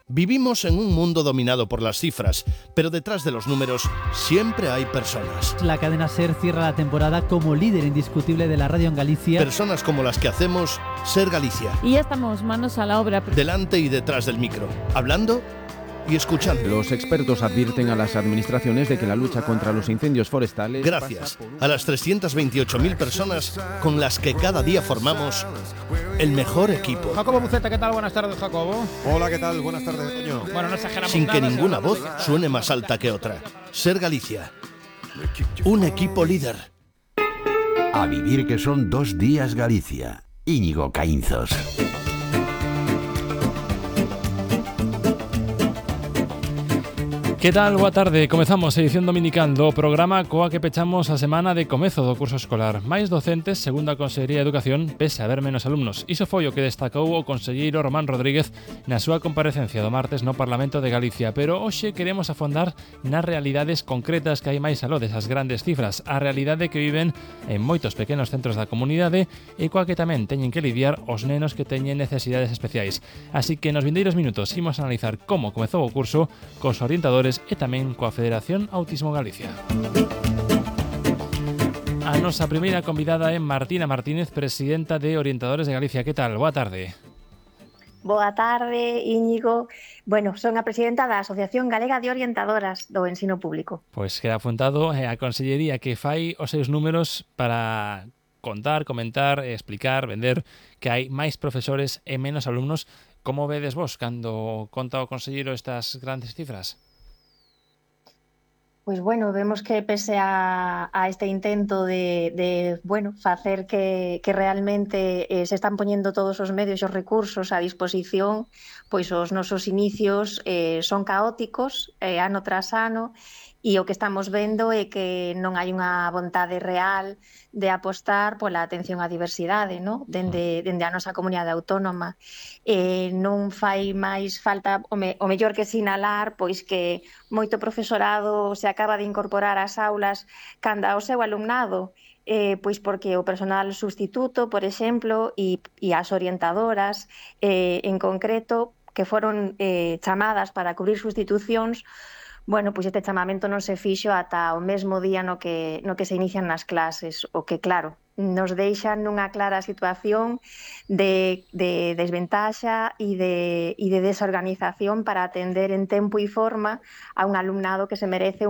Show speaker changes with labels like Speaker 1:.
Speaker 1: Vivimos en un mundo dominado por las cifras, pero detrás de los números siempre hay personas.
Speaker 2: La cadena SER cierra la temporada como líder indiscutible de la radio en Galicia.
Speaker 1: Personas como las que hacemos Ser Galicia.
Speaker 3: Y ya estamos manos a la obra.
Speaker 1: Delante y detrás del micro, hablando y escuchando.
Speaker 4: Los expertos advierten a las administraciones de que la lucha contra los incendios forestales...
Speaker 1: Gracias a las 328.000 personas con las que cada día formamos el mejor equipo.
Speaker 5: Jacobo Buceta, ¿qué tal? Buenas tardes, Jacobo.
Speaker 6: Hola, ¿qué tal? Buenas tardes, Toño.
Speaker 5: Bueno, no exageramos
Speaker 1: Sin que
Speaker 5: nada,
Speaker 1: ninguna voz suene más alta que otra. Ser Galicia. Un equipo líder.
Speaker 7: A vivir que son 2 días Galicia. Íñigo Caínzos.
Speaker 8: Que tal? Boa tarde. Comezamos a edición dominical do programa coa que pechamos a semana de comezo do curso escolar. Máis docentes, segundo a Consellería de Educación, pese a haber menos alumnos. Iso foi o que destacou o conselleiro Román Rodríguez na súa comparecencia do martes no Parlamento de Galicia. Pero hoxe queremos afondar nas realidades concretas que hai máis aló desas grandes cifras. A realidade que viven en moitos pequenos centros da comunidade e coa que tamén teñen que lidiar os nenos que teñen necesidades especiais. Así que nos vindeiros minutos imos a analizar como comezou o curso cos orientadores e tamén coa Federación Autismo Galicia. A nosa primeira convidada é Martina Martínez, presidenta de Orientadores de Galicia. Que tal? Boa tarde.
Speaker 9: Boa tarde, Íñigo. Bueno, son a presidenta da Asociación Galega de Orientadoras do Ensino Público.
Speaker 8: Pois queda apuntado a Consellería que fai os seus números para contar, comentar, explicar, vender que hai máis profesores e menos alumnos. Como vedes vos cando conta o conselleiro estas grandes cifras?
Speaker 9: Pois bueno, vemos que pese a este intento de facer que realmente se están poñendo todos os medios e os recursos a disposición, pois os nosos inicios son caóticos ano tras ano, e o que estamos vendo é que non hai unha vontade real de apostar pola atención á diversidade, no? Dende a nosa comunidade autónoma. Non fai máis falta, o mellor que sinalar, pois que moito profesorado se acaba de incorporar ás aulas canda ao seu alumnado, pois porque o personal substituto, por exemplo, e as orientadoras en concreto, que foron chamadas para cubrir sustitucións, bueno, pois este chamamento non se fixo ata o mesmo día no que se inician nas clases, o que, claro, nos deixa nunha clara situación de desventaxa e de desorganización para atender en tempo e forma a un alumnado que se merece